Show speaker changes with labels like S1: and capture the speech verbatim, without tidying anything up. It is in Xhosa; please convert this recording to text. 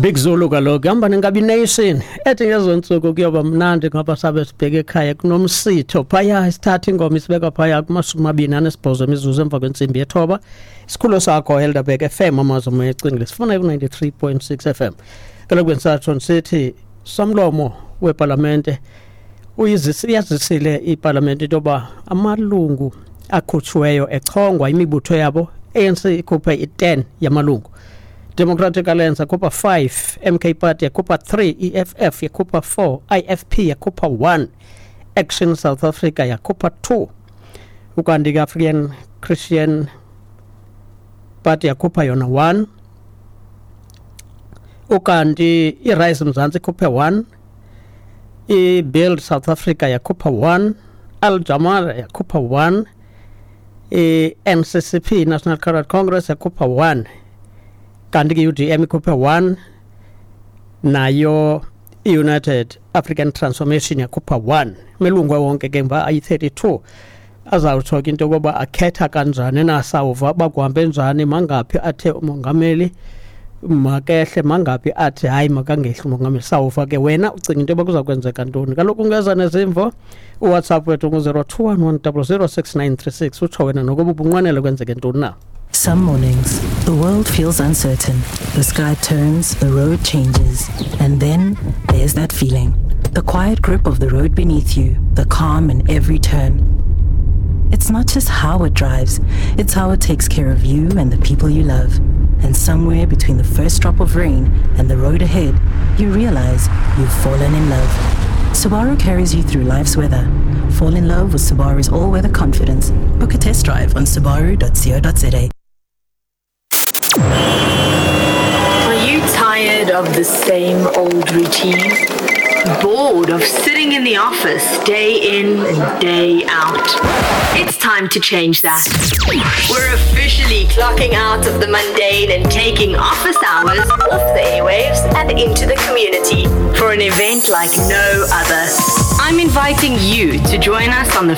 S1: Big Zulu kaloku ihamba nenkabi nation ethi ngezo ntsuku kuyoba mnandi ngoba sabe sibheke ekhaya kunomsitho phaya. Isithatha ingoma isibeka phaya kumashumi amabini anesibhozo imizuzu emva kwentsimbi yethoba. Isikhululo sakho Helderberg F M, amazwi moya ecingile sifuna ku-ninety-three point six F M. Kaloku bendisatsho ndisithi somlomo wepalamente uyazisile ipalamente into yoba amalungu akhutshiweyo echongwa imibutho yabo, A N C ikhuphe i-ten yamalungu, Democratic Alliance yakhupha five, M K Party yakhupha three, E F F yakhupha four, I F P yakhupha one, Action South Africa yakhupha two, ukanti ke African Christian Party yakhupha yona one, ukanti i-Rise Mzansi ikhuphe one, i-Build South Africa yakhupha one, Al Jamal yakhupha one, i-N C C P, National Coloured Congress, yakhupha one, kanti ke U D M ikhuphe one, nayo i-United African Transformation yakhupha one. Amalungu wonke ke mva ayi-thirty-two. Azawutsho ke into yokoba akhetha kanjani na, sawuva uba kuhambe njani, mangaphi athe umongameli makehle, mangaphi athi hayi makangehli umongameli. Sawuva ke. Wena ucinga into yoba kuza kwenzeka ntoni? Kaloku ungeza nezimvo, uWhatsApp wethu ngu-zero two one one zero zero six nine three six. Utsho wena nokuba ubunqwenele kwenzeke ntoni na.
S2: Some mornings, the world feels uncertain. The sky turns, the road changes, and then there's that feeling. The quiet grip of the road beneath you, the calm in every turn. It's not just how it drives, it's how it takes care of you and the people you love. And somewhere between the first drop of rain and the road ahead, you realize you've fallen in love. Subaru carries you through life's weather. Fall in love with Subaru's all-weather confidence. Book a test drive on subaru dot co dot za.
S3: Are you tired of the same old routine? Bored of sitting in the office day in and day out? It's time to change that. We're officially clocking out of the mundane and taking office hours off the airwaves and into the community for an event like no other. I'm inviting you to join us on the